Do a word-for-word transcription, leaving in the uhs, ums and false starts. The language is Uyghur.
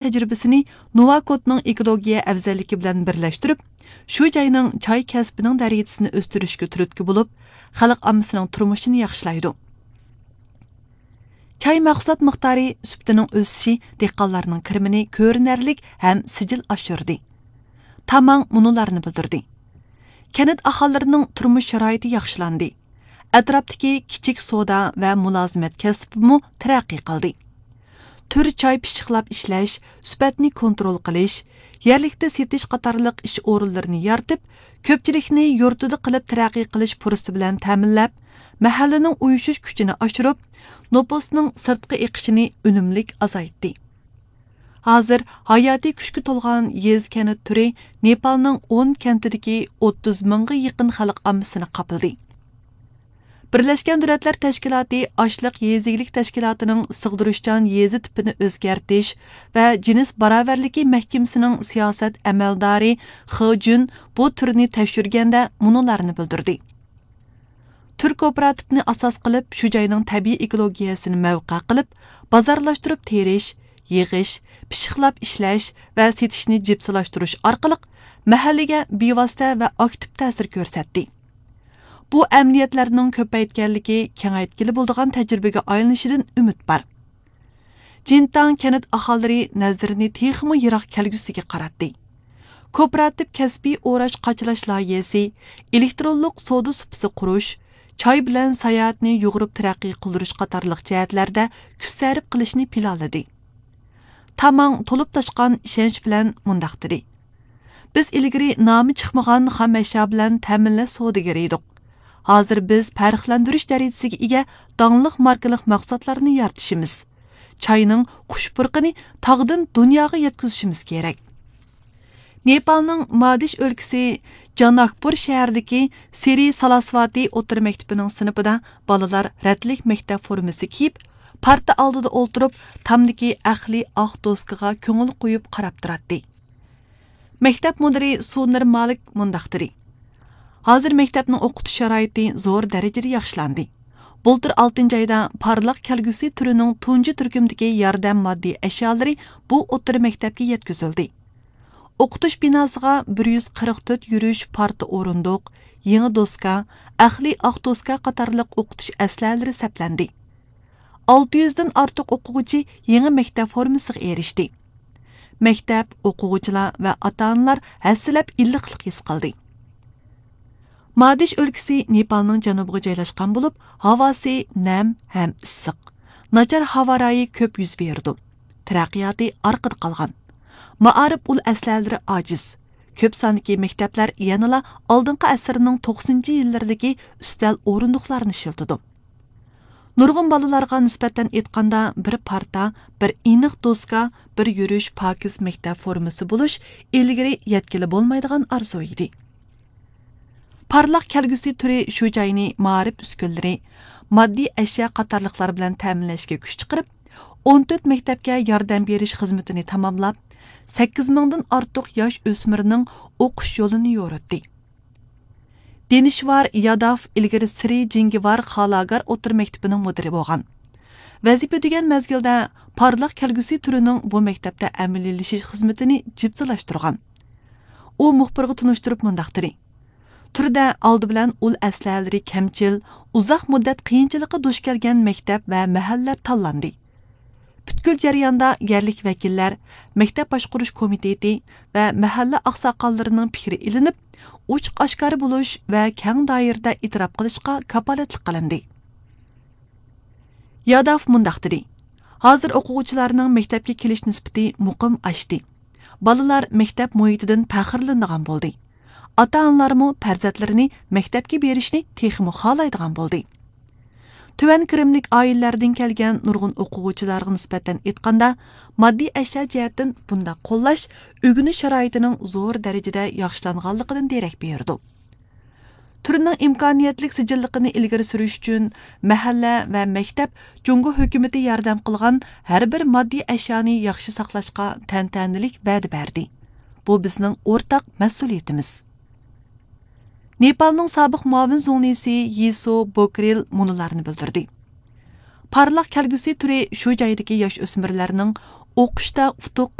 تەجرىبىسىنى نوۋاكوتنىڭ ئېكولوگىيە ئەۋزەللىكى بىلەن بىرلەشتۈرۈپ، شۇ جاينىڭ چاي كەسپىنىڭ دەرىجىسىنى ئۆستۈرۈشكە تۈرتكە بولۇپ، خەلق ئاممىسىنىڭ تۇرمۇشىنى ياخشىلايدۇ. چاي مەھسۇلات مىقدارى، سۈپىتىنىڭ ئۆسۈشى دېھقانلارنىڭ كىرىمىنى كۆرۈنەرلىك ھەم سىجىل ئاشۇردى. تاماڭ مۇنۇلارنى بىلدۈردى: كەنت ئاھالىلىرىنىڭ تۇرمۇش شارائىتى ياخشىلاندى. ئەتراپتىكى كىچىك سودا ۋە مۇلازىمەت كەسپىمۇ تەرەققىي قىلدى. تۈر چاي پىششىقلاپ ئىشلەش، سۈپەتنى كونترول قىلىش، يەرلىكتە سېتىش قاتارلىق ئىش ئورۇنلىرىنى يارىتىپ، كۆپچىلىكنى يۇرتىدا قېلىپ تەرەققىي قىلىش پۇرسىتى بىلەن تەمىنلەپ، مەھەللىنىڭ ئۇيۇشۇش كۈچىنى ئاشۇرۇپ، نوپۇسنىڭ سىرتقا ئېقىشىنى ئۈنۈملۈك ئازايتتى. ھازىر ھاياتىي كۈچكە تولغان يېزا كەنت تۈرى نېپالنىڭ ئون كەنتىدىكى ئوتتۇز مىڭغا يېقىن خەلق ئاممىسىنى قاپلىدى. بىرلەشكەن دۆلەتلەر تەشكىلاتى ئاشلىق يېزا ئىگىلىك تەشكىلاتىنىڭ سىغدۇرۇشچان يېزا تىپىنى ئۆزگەرتىش ۋە جىنس باراۋەرلىكى مەھكىمىسىنىڭ سىياسەت ئەمەلدارى خې جۈن بۇ تۈرنى تەكشۈرگەندە مۇنۇلارنى بىلدۈردى: تۈر كوپىراتىپنى ئاساس قىلىپ، شۇ جاينىڭ تەبىئىي ئېكولوگىيەسىنى مەۋقە قىلىپ، بازارلاشتۇرۇپ تېرىش، يىغىش، پىششىقلاپ ئىشلەش ۋە سېتىشنى جىپسىلاشتۇرۇش ئارقىلىق مەھەللىگە بىۋاسىتە ۋە ئاكتىپ تەسىر كۆرسەتتى. بۇ ئەمەلىيەتلەرنىڭ كۆپەيتكەنلىكى، كېڭەيتكىلى بولىدىغان تەجرىبىگە ئايلىنىشىدىن ئۈمىد بار. جىنتاڭ كەنت ئاھالىلىرى نەزىرىنى تېخىمۇ يىراق كەلگۈسىگە قاراتتى. كوپىراتىپ كەسپىي ئوراش قاچىلاش لايىھەسى، ئېلېكترونلۇق سودا سۇپىسى قۇرۇش، چاي بىلەن ساياھەتنى يۇغۇرۇپ تەرەققىي قىلدۇرۇش قاتارلىق جەھەتلەردە كۈچ سەرپ قىلىشنى پىلانلىدى. تاماڭ تولۇپ تاشقان ئىشەنچ بىلەن مۇنداق دېدى: بىز ئىلگىرى نامى چىقمىغان خام ئەشيا بىلەن تەمىنلەش سودىگىرى ئىدۇق. ھازىر بىز پەرقلەندۈرۈش دەرىجىسىگە ئىگە داڭلىق ماركىلىق مەھسۇلاتلارنى يارىتىشىمىز. چاينىڭ خۇش پۇرىقىنى تاغدىن دۇنياغا يەتكۈزۈشىمىز كېرەك. نېپالنىڭ مادىش ئۆلكىسى جاناكپۇر شەھىرىدىكى سىرى سالاسۋاتى ئوتتۇرا مەكتىپىنىڭ سىنىپىدا بالىلار رەتلىك مەكتەپ فورمىسى كىيىپ، پارتا ئالدىدا ئولتۇرۇپ، تامدىكى ئەقلىي ئاق دوسكىغا كۆڭۈل قويۇپ قاراپ تۇراتتى. مەكتەپ مۇدىرى سۇنىر مالىك مۇنداق دېدى: ھازىر مەكتەپنىڭ ئوقۇتۇش شارائىتى زور دەرىجىدە ياخشىلاندى. بۇلتۇر ئالتىنچى ئايدا پارلاق كەلگۈسى تۈرىنىڭ تۇنجى تۈركۈمدىكى ياردەم ماددىي ئەشيالىرى بۇ ئوتتۇرا مەكتەپكە يەتكۈزۈلدى. ئوقۇتۇش بىناسىغا بىر يۈز قىرىق تۆت يۈرۈش پارتا ئورۇندۇق، يېڭى دوسكا، ئەقلىي ئاق دوسكا قاتارلىق ئوقۇتۇش ئەسلىھەلىرى سەپلەندى. ئالتە يۈزدىن ئارتۇق ئوقۇغۇچى يېڭى مەكتەپ فورمىسىغا ئېرىشتى. مەكتەپ، ئوقۇغۇچىلار ۋە ئاتا-ئانىلار ھەسسىلەپ ئىللىقلىق ھېس قىلدى. مادىش ئۆلكىسى نېپالنىڭ جەنۇبىغا جايلاشقان بولۇپ، ھاۋاسى نەم ھەم ئىسسىق. ناچار ھاۋا رايى كۆپ يۈز بېرىدۇ. تەرەققىياتى ئارقىدا قالغان. مائارىپ ئۇل ئەسلىھەلىرى ئاجىز. كۆپ ساندىكى مەكتەپلەر يەنىلا ئالدىنقى ئەسىرنىڭ توقسىنىنچى يىللىرىدىكى ئۈستەل ئورۇندۇقلارنى ئىشلىتىدۇ. نۇرغۇن بالىلارغا نىسبەتەن ئېيتقاندا، بىر پارتا، بىر ئېنىق دوسكا، بىر يۈرۈش پاكىز مەكتەپ فورمىسى بولۇش ئىلگىرى يەتكىلى بولمايدىغان ئارزۇ ئىدى. پارلاق كەلگۈسى تۈرى شۇ جاينى مائارىپ ئۈسكۈنىلىرى، ماددىي ئەشيا قاتارلىقلار بىلەن تەمىنلەشكە كۈچ چىقىرىپ، ئون تۆت مەكتەپكە ياردەم بېرىش خىزمىتىنى تاماملاپ، سەككىز مىڭدىن ئارتۇق ياش ئۆسمۈرنىڭ ئوقۇش يولىنى يورۇتتى. دېنىشۋار ياداف ئىلگىرى سىرى جىڭگىۋار خالاگار ئوتتۇرا مەكتىپىنىڭ مۇدىرى بولغان. ۋەزىپە ئۆتىگەن مەزگىلدە پارلاق كەلگۈسى تۈرىنىڭ بۇ مەكتەپتە ئەمەلىيلىشىش خىزمىتىنى جىپسىلاشتۇرغان. ئۇ مۇخبىرغا تونۇشتۇرۇپ مۇنداق دېدى: تۈردە ئالدى بىلەن ئۇل ئەسلىھەلىرى كەمچىل، ئۇزاق مۇددەت قىيىنچىلىققا دۇچ كەلگەن مەكتەپ ۋە مەھەللىلەر تاللاندى. پۈتكۈل جەرياندا يەرلىك ۋەكىللەر، مەكتەپ باشقۇرۇش كومىتېتى ۋە مەھەللە ئاقساقاللىرىنىڭ پىكرى ئېلىنىپ، ئوچۇق ئاشكارا بولۇش ۋە كەڭ دائىرىدە ئېتىراپ قىلىشقا كاپالەتلىك قىلىندى. ياداف مۇنداق دېدى: ھازىر ئوقۇغۇچىلارنىڭ مەكتەپكە كېلىش نىسبىتى مۇقىم ئاشتى. بالىلار مەكتەپ مۇھىتىدىن پەخىرلىنىدىغان بولدى. ئاتا-ئانىلارمۇ پەرزەنتلىرىنى مەكتەپكە بېرىشنى تېخىمۇ خالايدىغان بولدى. تۆۋەن كىرىملىك ئائىلىلەردىن كەلگەن نۇرغۇن ئوقۇغۇچىلارغا نىسبەتەن ئېيتقاندا، ماددىي ئەشيا جەھەتتىن بۇنداق قوللاش ئۆگىنىش شارائىتىنىڭ زور دەرىجىدە ياخشىلانغانلىقىدىن دېرەك بېرىدۇ. تۈرنىڭ ئىمكانىيەتلىك سىجىللىقىنى ئىلگىرى سۈرۈش ئۈچۈن، مەھەللە ۋە مەكتەپ جۇڭگو ھۆكۈمىتى ياردەم قىلغان ھەر بىر ماددىي ئەشيانى ياخشى ساقلاشقا تەنتەنىلىك ۋەدە بەردى. بۇ بىزنىڭ ئورتاق مەسئۇلىيىتىمىز. نېپالنىڭ سابىق مۇئاۋىن زۇڭلىسى يىسو بوكرىل مۇنۇلارنى بىلدۈردى: پارلاق كەلگۈسى تۈرى شۇ جايدىكى ياش ئۆسمۈرلەرنىڭ ئوقۇشتا ئۇتۇق